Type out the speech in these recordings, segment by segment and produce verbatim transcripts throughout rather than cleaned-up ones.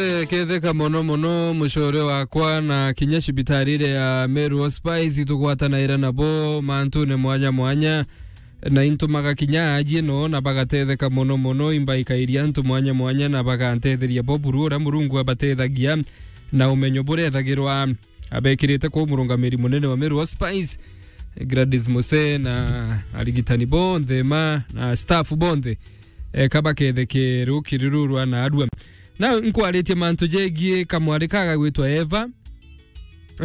Eh, ketheka mono mono, mucore wakwa, na kinya cibitari iria ya Meru Hospice itugwatanaira nabo mantune mwanya mwanya, na intumaga kinya aji no, na bagatetheka mono mono, imbaikairia antu mwanya mwanya, na bagantetheria bo buru uria Murungu abatethagia na umenyo buria ethagirwa abekirite kuu murungamiri munene wa Meru Hospice, Gladys Muse, na arigitani bonthe ma, na staff bonthe, eh, kabaketheke rukiri ruru rwa naarua. Na inkwaritie mantu jegie kamwari ka gagwitwa Eva,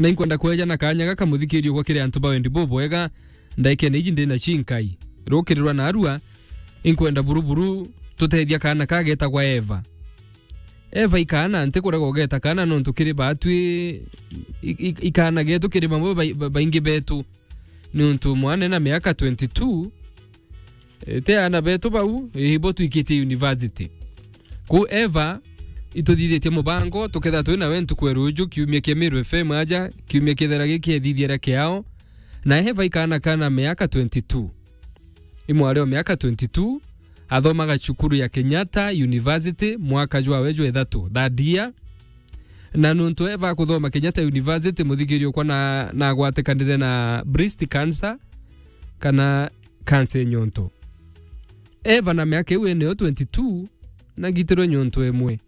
na inkwenda kweja na kanya gaka, muthikiri okwa, kiri antu ba wendi bubwega, ndaikene iji ndina cinkai. Rukiri rwa naarua, inkwenda buru buru tutethia kaana ka getagwa Eva. Eva ikaana, ntikurega ugeta kaana, nontu kiri baatwi i-, i-, ikaana getu kiri bamwe bai-, ba-, baingi betu. Niuntu mwana ena miaka twenty-two, eh, ti aana betu bau, eh, ibo twikitie university. Ku Eva, ituthithitie mubango, tukethira twi nawe ntuku ya ruju, kiumia kia Meru F M aja, kiumia kethira giki ethithiera kiao. Na Eva ikaana kana miaka twenty-two. I mwari o miaka twenty-two, athomaga cukuru ya Kenyatta University, mwaka jwawe jwa ithatu, third year. Na nontu Eva akuthoma Kenyatta University, muthikiri okwa, na, na agwatikanire na breast cancer, kana cancer ya nyonto. Eva na miaka iu ene yo twenty-two, na agitirwe nyonto imwe.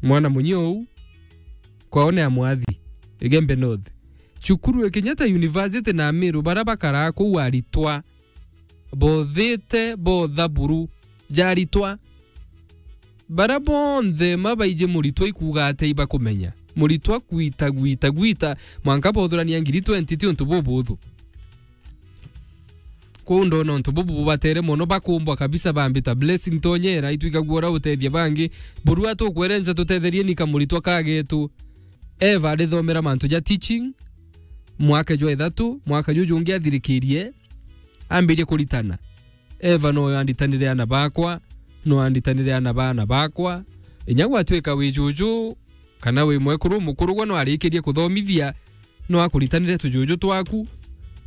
Mwana munyi uu, kwao ni Amwathi, Igembe North. Cukuru ya Kenyatta University na Meru, baria bakaraa kuu aritwa bothite botha buru ja aritwa. Baria bonthe ma baiji muritwa ikuuga atia ibakumenya. Muritwa gwita, gwita, gwita, mwanka bothurania ngiri twenty ti untu bubuthu. Kwou ndona untu bubu bubatere mono, bakumbwa kabisa, bambita Blessing Tonyera, itwikagua uria utethia bangi. Burua tukwerenca tutetherie ni kamuritwa ka getu. Eva arithomera mantu ja teaching, mwaka jwa ithatu, mwaka juju jungi athirikirie, ambirie kuritana. Eva noyo anditanire aana bakwa, no anditanire aana ba aana bakwa. Inya gwatwika wi juju, kana wi mwekuru mukuru gwe no arikirie kuthomithia, no akuritanire tujuju twaku,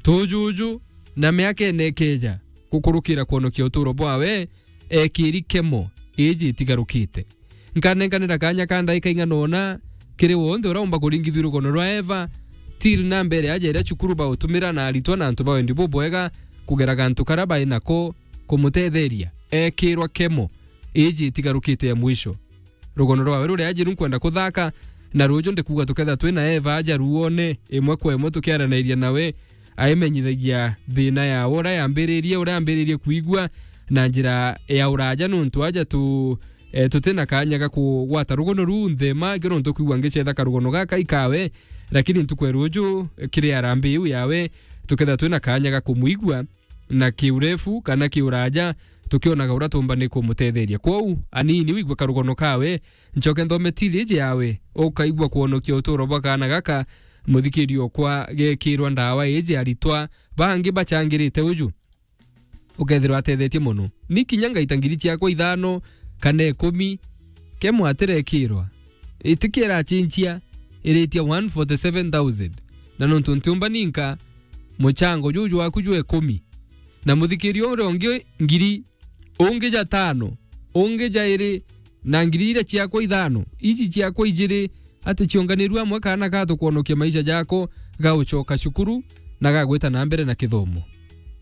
tujuju, na miaka ene ikeja, gukurukira kwonokia uturo bwawe, ekiri kemo iji itigarukite. Nkanenkanira kanya ka ndaika ing'ana ona kiri wonthe uria umba kuringithua rugono rwa Eva, till na mbere aja iria cukuru bautumira na aritwa na antu ba wendi bubwega kugera gantu karia bai nako kumutetheria ekirwa kemo iji itigarukite ya mwisho. Rugono rwawe ruria ajiru nkwenda kuthaka, na ruju ndikuuga tuketha twi na Eva aja ruone, imwe kwa imwe tukiaranairia nawe, aimenyithagia thina yawe uria yambiririe, uria ambiririe kwigua na njira ya uraja, nontu aja tu, eh, tuti na kanya ga kugwata rugono ruu nthema, kio nontu kwigua ngicetha karugono gaka ikawe, lakini ntuku ya ruju, eh, kiri arambi iu yawe, tuketha twi na kanya ga kumwigua na kiurefu kana kiuraja, tukionaga uria tumbani kumutetheria. Kwou, anini wigwe karugono kawe, ncoke nthome tili iji yawe, ukaigua kwonokia uturo bwa kaana gaka, muthikiri okwa, gekirwa ndawa iji aritwa bangi bachangirite uju. Ukethirwa atethetie mono. Ni kinya ngaita ngiri ciakwa ithano kana ikumi, kemo atirekirwa. Itikiera achinchia, iritia one forty seven thousand. Na nontu ntiumba ninka, muchango juju waku jwa ikumi. Na muthikiri uria ungi ngiri, ungi ja tano, ungi ja iri, na ngiri iria ciakwa ithano, iji ciakwa ijiri, ati cionganirue amwe kaana ga tukwonokia maisha jako ga ucoka cukuru na ga gwita na mbere na kithomo.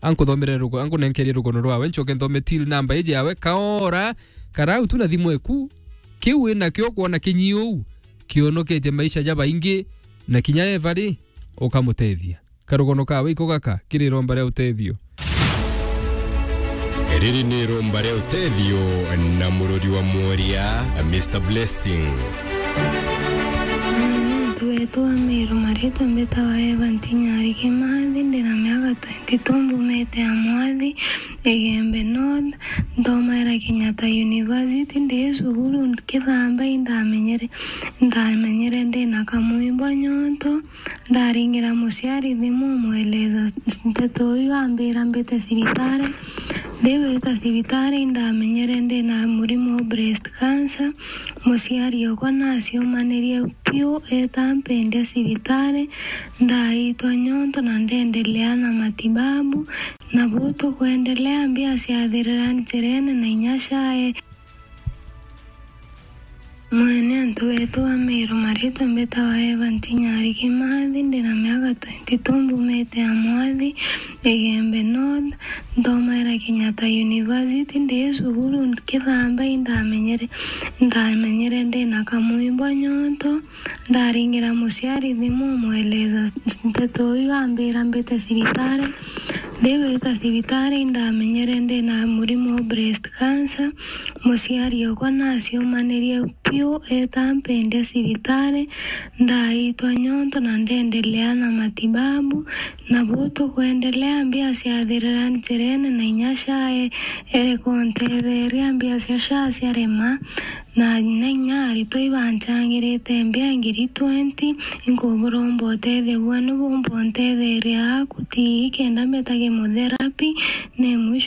Ankuthomere rugo-, ankunenkerie rugono rwawe, ncoke nthome till number iji yawe, kaora karau tu na thimu eku, kiu wi nakio kwona kinyi uu kionoketie maisha ja baingi, na kinya Eva ri, ukamutethia. Karugono kawe iko gaka kiri iromba ria utethio. Riri ni iromba ria utethio na murori wa mworia, Mister Blessing. Mwanantu wetu wa Meru, maritwa mbitawa Eva Ntinyari Kimathi, ndina miaka twenty-two, mbumite Amwathi, Igembe North, nthomaira Kenyatta University, ndi cukuru Kithamba, indamenyere, ndamenyere ndina kamwimbo nyonto, ndaringira muciari thimu, umweleza nteto iu, ambira mbite cibitari. Ndiwita cibitari, indamenyere ndina murimo wa breast cancer. Muciari okwa naciumanirie piu, eta mpendia cibitari, ndaitwa nyonto na ndendelea na matibabu. Na buu tukwendelea, mbia ciathirira njirene na inya cae. Mwene antu betu ba Meru, maritwa mbitawa Eva Ntinyari Kimathi, ndina miaka twenty-two, mbumite Amwathi, Igembe North, nthomaira Kenyatta University. Ndi cukuru nkithamba, indamenyere, ndamenyere ndina kamwimbo nyonto, ndaringira muciari thimu, umweleza nteto iu, ambira mbite cibitari. Ndiwita cibitari, indamenyere ndina murimo wa breast cancer. Muciari okwa naciumanirie piu, eta mpendia cibitari, ndaitwa nyonto na ndendelea na matibabu. Nabo tukwendelea, mbia ciathirira njirene, na inya SHA e-, ereka untetheria, mbia cia SHA ciarema, na, na inya aritwa ibancangirite mbia ngiri twenty. Inkuburomba utethio bwenu bumba untetheria aku ti kenda mbeta chemotherapy, ni mwisho